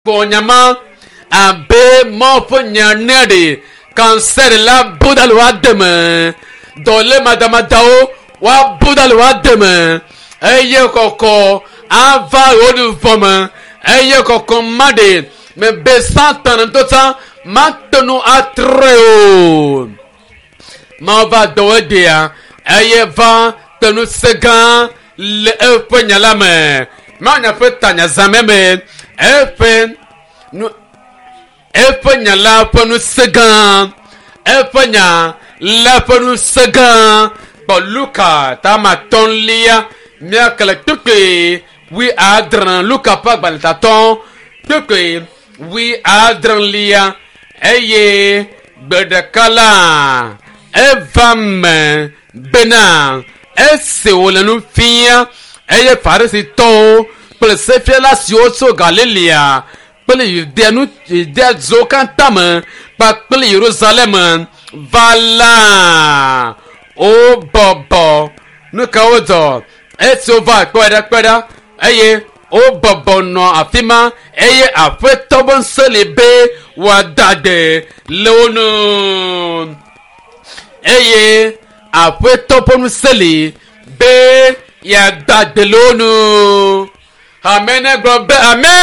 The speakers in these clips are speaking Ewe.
Kpɔ nyama abe Mawu ƒe nya ene ɖe kansɛr la bu ɖa le woa deme. Dɔlé madamadawo woabu ɖa le woa deme eye kɔkɔ ava wo ɖu me eye kɔkɔ ma ɖe mebe Satan ŋutɔ tsã mate ŋu atrɔe o. Mawu va dɔwɔ egbea eye va te ŋusẽ gã le eƒe nya la me. Mawu nya ƒe tanya zã me me eƒe nu eƒe nya la ƒe ŋusẽ gã eƒe nya la ƒe ŋusẽ gã kpɔ Luka tama tɔ̃lia míaxlẽ kpukpui wuiadre Luka ƒe agbalẽ tatɔ kpukpui wuiadrelia eye gbe ɖeka la eva me bena esi wòle nu fia eye Farisitɔwo kple sefiala siwo tso Galilea kple Yudea nu Yudea duwo katã me kpakple Yerusalem va la wobɔbɔ nu ka wodzɔ esi wova kpɔe ɖa kpɔe ɖa eye wobɔbɔ nɔ afi ma eye aƒetɔ be ŋusẽ li be wòada gbe le wo nu eye aƒetɔ ƒe ŋusẽ li be yeada gbe le wo nu ame ne gblɔ be amen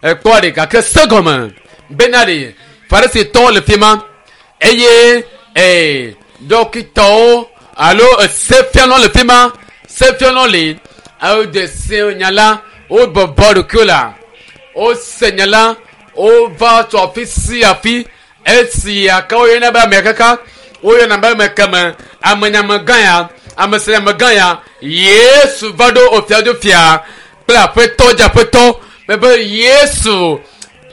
ekpɔ ɖe gake se gɔme bena ɖe farisitɔwo le fi ma eye ee dɔkitawo alo sefialawo le fi ma sefialawo li wode se nya la wobɔbɔ ɖokuiwo la wose nya la wova tso afi sia afi esi ake woyɔna be ame kaka woyɔna be ame keme amenyamegã ya ame si amegã ya Yesu va ɖo ofiaɖufia kple aƒetɔ dzi aƒetɔ mebe Yesu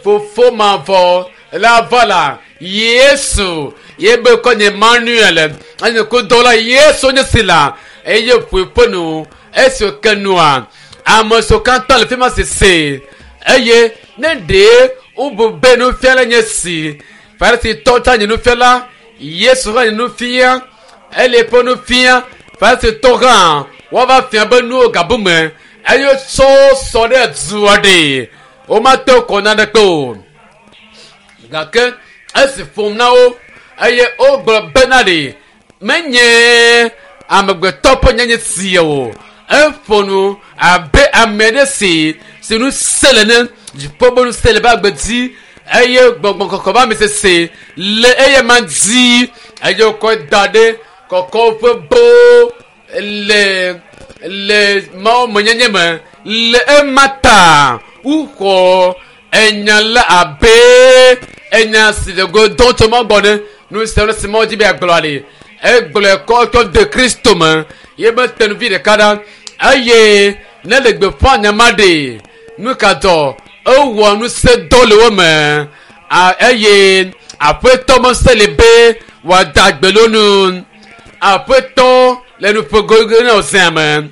fofo mavɔ la va la Yesu ye be kɔ nye Emmanuel enye kudɔ la Yesu nye si la eye ƒo eƒe nu esi wòke nua ame siwo katã le fi ma sese eye ne ɖe wobu be nufiala nye si Farisitɔ tsã nye nufiala Yesu hã nye nufia ele eƒe nufia Farisitɔ hã woava fia be nuwo gabu me eye wotsɔ sɔ ɖe dua ɖe womate kɔ naneke o gake esi ƒom na wo eye wogblɔ bena ɖe menye amegbetɔ ƒe nyenye sia o eƒo nu abe ame aɖe si si nu se le ne dziƒo be nu se le be agbe dzi eye gbɔgbɔ kɔkɔ be ame sese le eye ma dzi eye wokɔ da ɖe kɔkɔ ƒe bo le le mawo menyenye me le ema ta woxɔ enya la abe enya si le go dɔm tso Mawu gbɔ ne nu sia nu si Mawu dzi be yeagblɔ li egblɔe kɔ tsɔ de Kristo me ye be tenuvi ɖeka ɖa eye ne le gbeƒã nya ma ɖe nu ka dɔ ewɔ ŋusẽ dɔ le wo me eye aƒetɔ ŋusẽ li be wòada gbe le wo nu aƒetɔ le nuƒogogo na wòzea me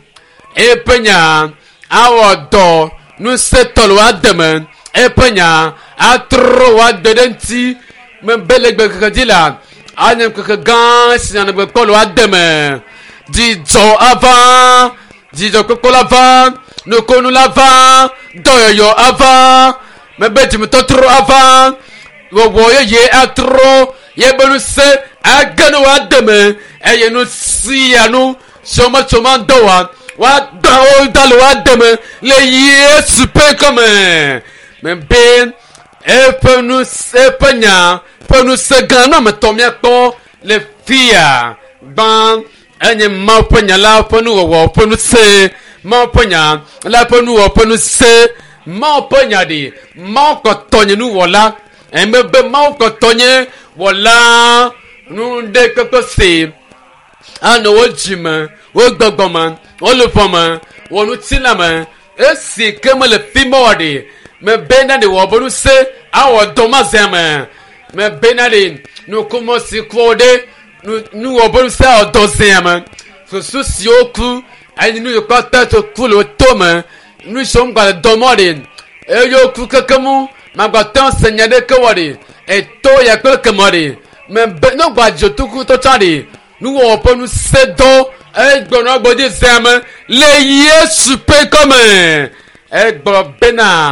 eƒe nya awɔ dɔ ŋusẽtɔ le woade me eƒe nya atrɔ woade ɖe ŋuti mebe le gbe keke dzi la anye ŋkeke gã si nanɔ gbe kpɔ le woade me dzidzɔ ava dzidzɔkpɔkpɔ la va nukunu la va dɔyɔyɔ ava mebe dzimetɔtrɔ ava wɔwɔ yeye atrɔ yebe ŋusẽ age ne woade me eye nu sia nu si wometso ma dɔ wa woagbã wo da le woade me le Yesu ƒe ŋkɔme mebe eƒe nu eƒe nya ƒe ŋusẽ gã nu ame etɔ̃ míakpɔ le fia gbã enye Mawu ƒe nya la ƒe nuwɔwɔ ƒe ŋusẽ Mawu ƒe nya la ƒe nuwɔwɔ ƒe ŋusẽ Mawu ƒe nya ɖi Mawu kpɔtɔ nye nuwɔla emegbe Mawu kpɔtɔ nye wɔla nu ɖe kpekpe si anɔ wo dzime wo gbɔgbɔ me wo luʋɔ me wo ŋutilã me esi ke mele fi ma o ɖe mebena ɖe wɔ be ŋusẽ awɔ dɔ ma zea me mebena ɖe nukumɔ si ku wo ɖe nuwɔ be ŋusẽ awɔ dɔ zea me susu siwo ku eye nu yiwo katã tso ku le wo to me nu siwo ŋgba le dɔ mɔ ɖe eye woku keke mu magbate ŋu se nya ɖeke wɔ ɖe eto ya kple kemɔ ɖe mebe ne gba dzotuku tɔtsa ɖe nuwɔwɔ ƒe ŋusẽ dɔ egblɔ gbɔdzi zea me le Yesu ƒe ŋkɔme egblɔ bena.